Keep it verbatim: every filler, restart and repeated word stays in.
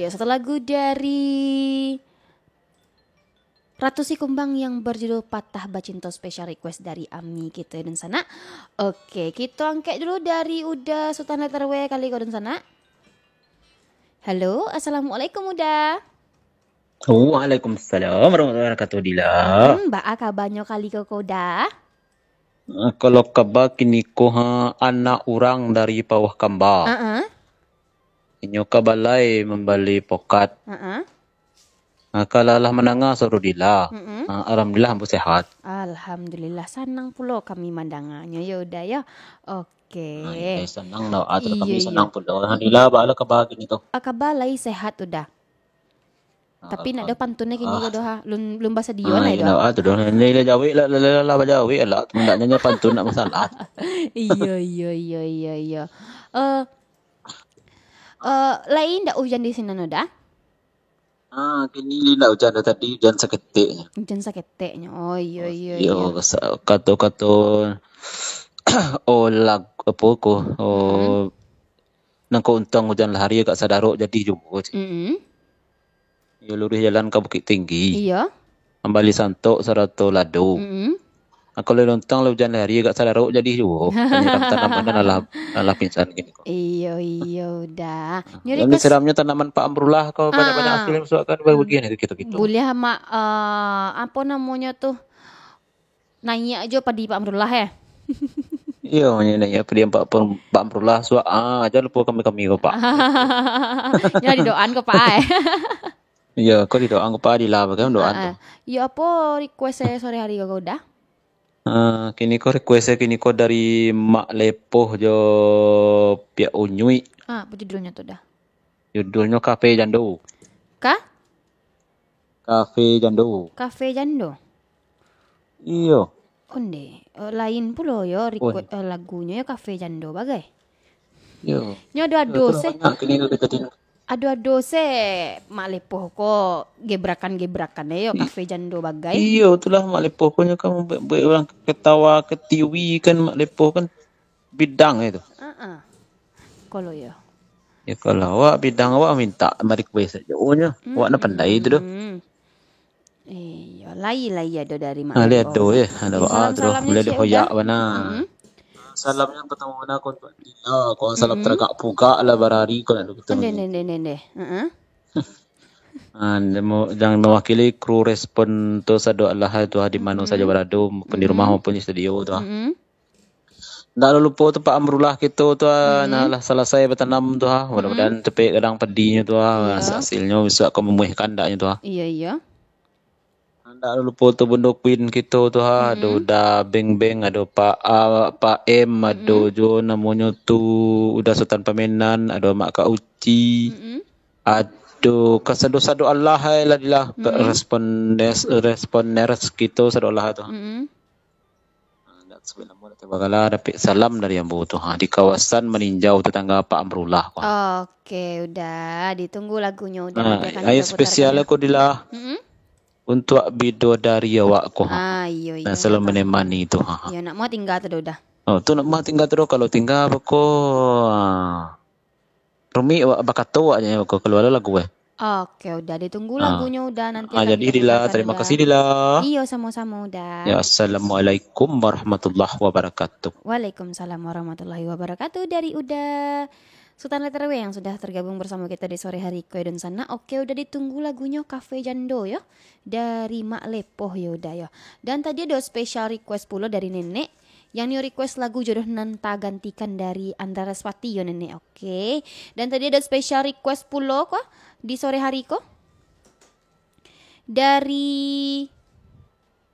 Satu lagu dari Ratu Sikumbang yang berjudul Patah Bacinto, special request dari Ami kito dunsanak. Oke, kito angkek dulu dari Uda Sutan Letter W kali ko dunsanak. Halo, assalamualaikum Uda. Waalaikumsalam warahmatullahi wabarakatuh, Dila. Hmm, baa kabanyo kali ko, ko Uda? Ah, kalau kaba kiniko, ha, anak urang dari Pauah Kamba. Heeh. Inyo ka balai mambali pokat. Heeh. Ah, kalau lah mandanga suaro Dila. Mm-mm. Ah, alhamdulillah, ambo sehat. Alhamdulillah, sanang pulo kami mandanganyo, yo Uda, yo. Oke. Ah, iyo, sanang lah. Ah, tu kami Iyo, sanang iyo. pulo. Alhamdulillah, baa lah kaba kiniko? Ah, kaba lai sehat, Uda. Ah, Tapi nak ado pantunnyo kini ko alhamdulillah. doh, ha. Lun, lun basadio Ah, lah iyo, itu. ah, tu doh. Ini lah jawek lah, lah, lah, lah, lah, jawek lah. Hendaknyo pantun nak masalah. Iyo, iyo, iyo, iyo, iyo. Eh, eh, lai ndak ujan di sinan, Uda? Ah, kini indak ujan doh, tadi ujan saketeknyo. Ujan saketeknyo. Oh, iyo, Oh, iyo, iyo, iyo. sa-, kato-kato, oh, lag-, apo ko, oh, Mm-mm. nan ko untuang ujan lah hari agak sadarok jadi juo, cik. Mm-mm. Iyo, luruih jalan ka Bukittinggi. Iyo. Mambali santok sarato lado. Mm-mm. Ah, kalau untuang lah ujan lah hari agak sadarok jadi juo. Panyiram tanaman kan alah, alah pingsan kini ko. Iyo, iyo, Uda. Nyo Yang request disiramnyo tanaman Pak Amrullah ko banyak-banyak Ah. hasil yang suakan bagian itu gitu-gitu. Buliah, Mak, eh, apo namonyo tu? Naiak jo padi Pak Amrullah, eh? Iyo, naiak padi Pak, Pak Amrullah suak, ah, jan lupo kami-kami ko, Pak. Nyo didoaan ko, Pak, eh? Iyo, ko didoaan ko, Pak, Dila bagai doaan Ah, tu. ah. Iyo, apo request saya sore hari ko, Uda? Ah, kini ko request saya kini ko dari Mak Lepoh jo Piak Unyuik. Ah, apo judulnyo tu, Da? Judulnyo Kafe Jando. Ka? Kafe Jando. Kafe Jando? Iyo. Onde, eh, lain pulo yo request, Oh. eh, lagunyo yo Kafe Jando bagai. Iyo. Nyo ado-ado Iyo, tu se. banyak kini ko kita tengok. Ado-ado se Mak Lepoh ko gebrakan-gebrakan yo Kafe Jando bagai. Iyo, itulah Mak Lepoh ko nyo kan buek, buek urang ketawa, ketiwi kan Mak Lepoh kan bidang itu. Heeh. Kalau yo. Ya, kalau awak bidang awak minta request sajo nyo. Awak nak pandai tu doh. Mm-mm. Iyo, lai, lai ado dari Mak Ah, lai Lepoh ado, tu. eh. Ado, Di ah, salam-salamnyo tu lah cek dihoyak Uda. bana. Mm-mm. Salamnyo partamo bana ko untuak Dila, ko salam Mm-mm. taragak pugak lah barari ko nak Onde, onde, onde, onde. Heeh. Ah, namo, yang mewakili kru Respon tu Sado Alaha tu, ah, di mano sajo Mm-mm. barado, maupun di rumah Mm-mm. maupun di studio tu, ah. Mm-mm. Ndak lupo tu Pak Amrullah kito tu, ah, Mm-mm. nah lah salasai batanam tu, ah. Mm-mm. Mudah-mudahan capek gadang padinyo tu, ah. Iyo. Hasilnyo bisuak ka mamuihkan andaknyo tu, ah. Iyo, iyo. Ndak lupo tu Bundo Queen kito tu, ha. Ado Mm-mm. Uda Beng Beng, ado Pak, ah, Pak M, ado Mm-mm. jo namonyo tu Uda Sutan Pamenan, ado Mak Kak Uci, Mm-mm. ado ka Sado-Sado Alaha, eh, lah, Dila, ka Mm-mm. Respondes-, Responders kito Sado Alaha tu. Mm-mm. Ah, ndak sabuik namo, ndak tabagalah, dapek salam dari ambo tu, ha, di kawasan Maninjau, tetangga Pak Amrullah ko. Oke, Uda, ditunggu lagunyo, Uda, Ah, nanti akan ayo kita spesial putarkan. Ko, Dila. Mm-mm. Untuak bidodari awak ko, ha. Ah, iyo, iyo, Nan selalu maaf. Menemani tu, ha. Iyo, nak mau tinggal tu, Uda. Oh, tu nak mau tinggal tu, kalau tinggal beko, ah, rumik awak bakato awak je, beko keluar lagu, eh. Oke, Uda, ditunggu Ah. lagunyo, Uda, nanti Ah, akan jadi, kita Dila, putarkan, terima Uda. kasih, Dila. Iyo, samo-samo, Uda. Ya, assalamualaikum warahmatullahi wabarakatuh. Waalaikumsalam warahmatullahi wabarakatuh dari Uda Sutan Letter W yang sudah tergabung bersama kita di sore hari ko dunsanak. Oke, Uda, ditunggu lagunyo Kafe Jando yo, dari Mak Lepoh yo, Uda yo. Dan tadi ado special request pulo dari Nenek, yang nio request lagu Jodoh Nan Tagantikan dari Andra Respati yo, Nenek. Oke. Dan tadi ado special request pulo ko di sore hari ko. Dari